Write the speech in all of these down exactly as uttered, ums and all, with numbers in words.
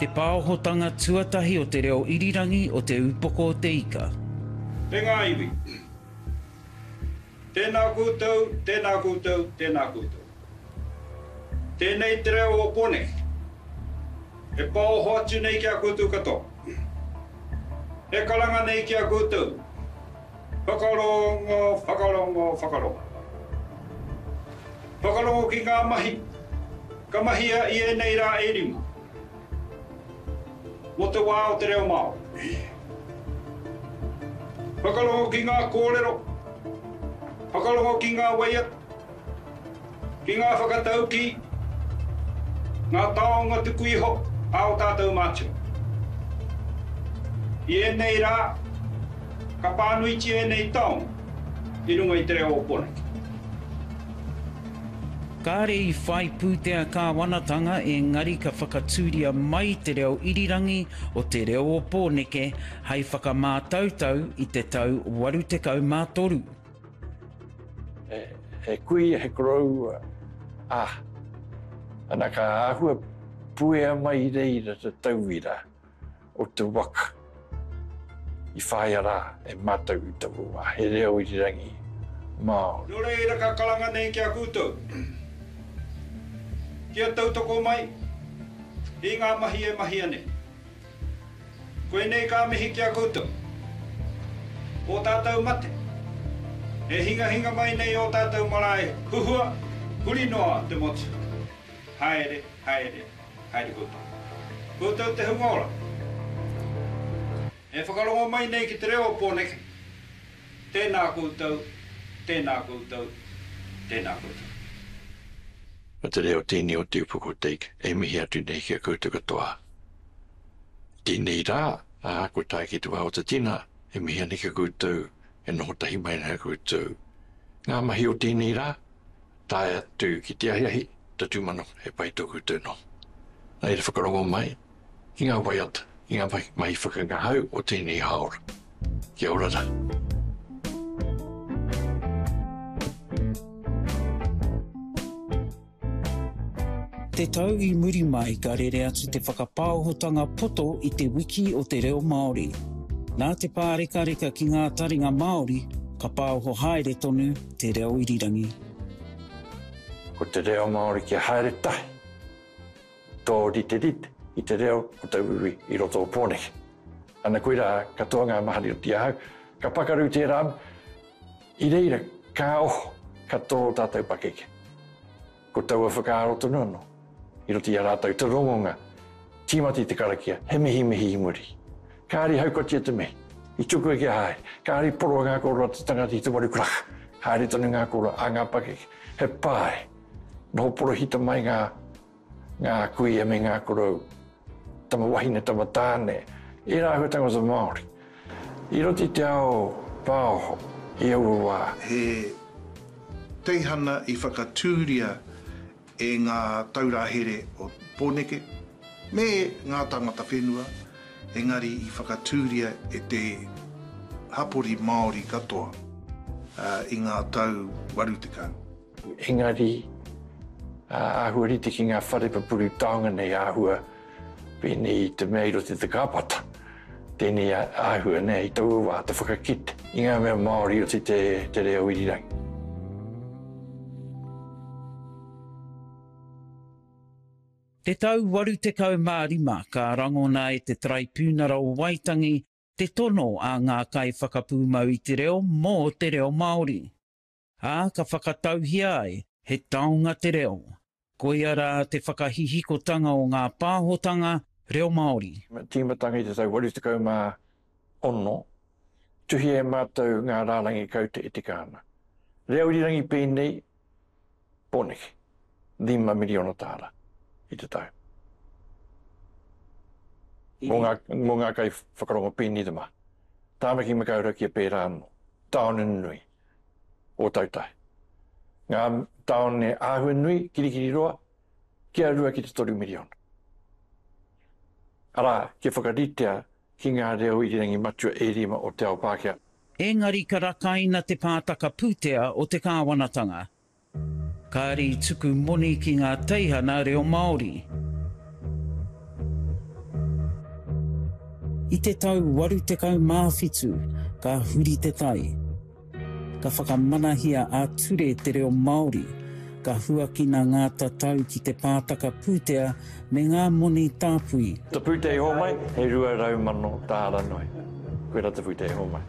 Te pāohotanga tuatahi o te reo irirangi o Te Upoko o Te Ika. Te ngā iwi. Tēnā koutou, tēnā koutou, tēnā koutou. Tēnei te reo o Pōneke. E pāoho atu nei ki a koutou katoa. E karanga nei ki a koutou. Whakarongo, whakarongo, whakarongo. Whakarongo ki ngā mahi ka mahia i ēnei rā e rima. Mō te wā o te reo Māori. Whakarongo ki ngā kōrero, whakarongo ki ngā waiata, ki ngā whakataukī, ngā taonga tuku iho a o tātou mātua. I ēnei rā, ka pānuitia ēnei taonga i runga i te reo o Pōneke. Kāre i whai pūtea kāwanatanga engari ka whakatūria mai te reo irirangi o te reo o Pōneke hei whakamātautau i te tau waru tekau mā toru. He, he kuia, he koroua, ah, ana ka āhua puea mai i reira te tauira o te waka i whāia rā e mātou i taua wā, he reo irirangi Māori. Nō reira ka karanga nei ki a koutou, kia tautoko mai i ngā mahi e mahia nei. Koinei ka mihi ki a koutou, ō tātou mate, e hingahinga mai nei ō tātou marae huhua, huri noa te motu. Haere, haere, haere koutou. Koutou te hunga ora. E whakarongo mai nei ki te reo o Pōneke, tēnā koutou, tēnā koutou, tēnā koutou. Ko te reo tēnei o Te Upoko o Te Ika e mihi atu nei ki a koutou katoa. Tēnei rā, ā, kua tae ki te wā o te tina, e mihi ana ki a koutou, e noho tahi mai ana koutou. Ngā mahi o tēnei rā, tae atu ki te ahiahi, te tūmanako, he pai tō koutou noho. Nā reira whakarongo mai ki ngā waiata, ki ngā mahi, mahi whakangahau o tēnei hāora. Kia ora rā. Te tau i muri mai ka rere atu te whakapāohotanga poto i te wiki o te reo Māori. Nā te pārekareka ki ngā taringa Māori, ka pāoho haere tonu te reo irirangi. Ko te reo Māori kia haere tahi, tō riterite i te reo o tauiwi i roto o Pōneke. Ana koirā katoa ngā mahari o te ahau, ka pakaru tērā, i reira ka oho, ka tō tātou pakeke. Ko taua whakaaro tonu anō, i roto i a rātou te rongonga, tīmata i te karakia, he mihimihi i muri. Kāri haukotia te mihi, i tukua kia haere, kāri poroa ngā kōrero a te tangata i te waru karaka, haere tonu ngā kōrero a ngā pakeke, he pae, noho porohita mai ngā, ngā kuia me ngā korou, tama wahine, tama tāne, ērā āhuatanga o te Māori. I roto i te ao pāoho, i aua wā. He teihana i whakatūria e ngā taura here o Pōneke me ngā tāngata whenua, engari i whakatūria e te hapori Māori katoa i ngā tau waru tekau. Engari, āhua rite ki ngā whare pupuru taonga nei āhua pēnei i te mea i roto i te kāpata. Tēnei āhua nei i taua wā te whakakite i ngā mea Māori i roto i te, te reo irirangi. Te tau waru tekau mā rima ka rangona e te Taraipiunara o Waitangi te tono a ngā kaiwhakapūmau i te reo mō te reo Māori. Ā, ka whakatauhia ai he taonga te reo. Koia rā te whakahihikotanga o ngā pāhotanga reo Māori. Tīmatanga i te tau waru tekau mā ono, tuhia e mātou ngā rārangi kaute e tika ana. Reo irirangi pēnei, Pōneke, rima miriona tāra i te tau. Mō ngā, mō ngā kai whakarongo pēnei te maha. Tāmaki Makaurau kia pērā anō. Tāone nui, Ōtautahi. Ngā tāone āhua nui, Kirikiriroa, kia rua ki te toru miriona. Arā, kia whakaritea ki ngā reo irirangi matua e rima o te ao Pākehā. Engari ka rakaina te pātaka pūtea o te kāwanatanga. Kāre i tuku moni ki ngā teihana reo Māori. I te tau waru tekau mā whitu, ka huri te tai. Ka whakamanahia ā-ture te reo Māori, ka huakina ngā tatau ki te pātaka pūtea me ngā moni tāpui. Te pūtea i hōmai, he rua rau mano tāra noa. Koirā te pūtea i hōmai.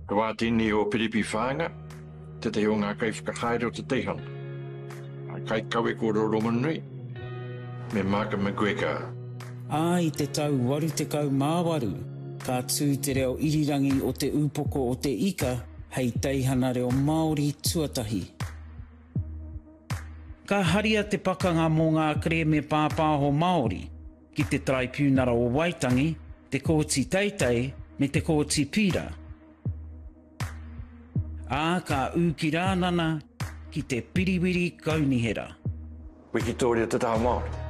He wā tēnei o Piripi Whānga, tētahi o ngā kaiwhakahaere o te teihana. Kaikawe kōrero rongonui, me Maaka McGregor. Ā, i te tau waru tekau mā waru, ka tū te reo irirangi o Te Ūpoko o te Ika hei teihana reo Māori tuatahi. Ka haria te pakanga mō ngā kerēme pāpāho Māori ki te Taraipiunara o Waitangi, te Kōti Teitei me te Kōti Pīra. Ā, ka ū ki Rānana ki te Piriwiri Kaunihera. Wikitōria te taha Māori.